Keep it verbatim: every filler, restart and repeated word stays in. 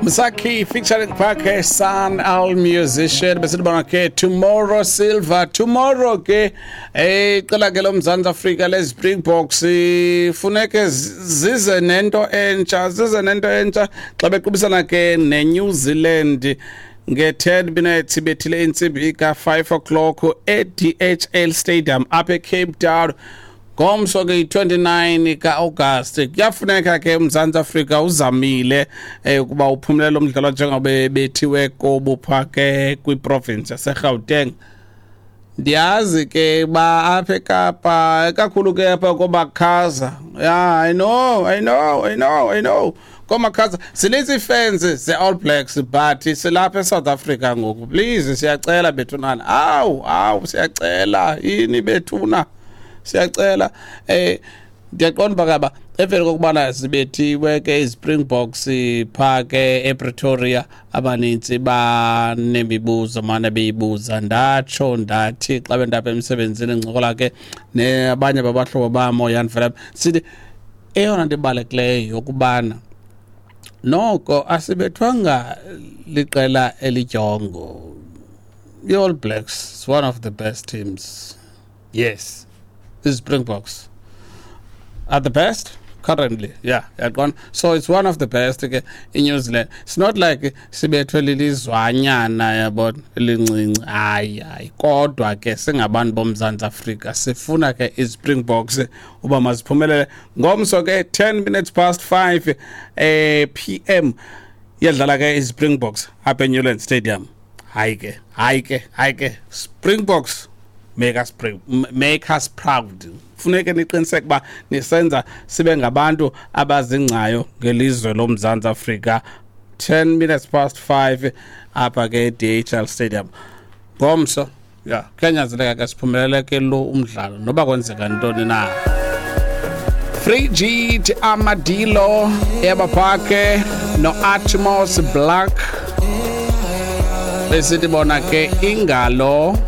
Msaki featuring Parker San Al Musician. Besithi bona ke tomorrow, Silver, tomorrow ke eh iqela ke loMzantsi Afrika le Springboks funeke zize nento entsha, zize nento entsha xa bequbisana ke neNew Zealand nge-ten minutes bethile intsimbi ka-five o'clock e-D H L Stadium apha eCape Town ngomso ke yi-twenty-nine ka-August. Kuyafuneka ke uMzantsi Afrika uzamile eh, ukuba uphumelele umdlalo njengoba bethiwe kobu pha ke kwiprovince yaseGauteng. Ndiyazi ke ba apha eKapa, kakhulu ke apha komakhaza. Yeah, I know, I know, I know, I know, komakhaza sininzi ii-fans ze-All Blacks, but silapha eSouth Africa ngoku. Please, siyacela bethunana. Awu, awu, siyacela yini bethuna, siyacela. eh ndiyaqonda uba kaba emveni kokubana zibethiwe ke iZpringboks phaa ke ePretoria, abanintsi banemibuzo mane beyibuza. Ndatsho ndathi xa bendapha emsebenzini ndincokola ke nabanye babahlobo bam ooYan Philip, sithi eyona nto ibalulekileyo yokubana noko asibethwanga liqela elidyongo. I-All Blacks is one of the best teams. Yes, the Springboks are the best currently. Yeah, yaqona. So it's one of the best ke iNew Zealand. It's not like sibethwe lilizwanyana, yabona, elincinci. Hayi, hayi, kodwa ke singabantu boMzantsi Afrika sifuna ke iSpringboks uba maziphumelele ngomso ke ten minutes past five eh P M iyadlala ke iSpringboks apha eNewlands Stadium. Hayi ke, hayi ke, hayi ke, Springboks, make us pr make us proud. Funeke niqiniseke uba nisenza sibe ngabantu abazingcayo ngelizwe loMzantsi Afrika. ten minutes past five apha ke D H L Stadium ngomso. Ya, kuyanyanzeleka ke siphumelele ke lo umdlalo noba kwenzeka ntoni na. Frigid Armadillo yabaphake no-Atmos Black, besithi bona ke ingalo.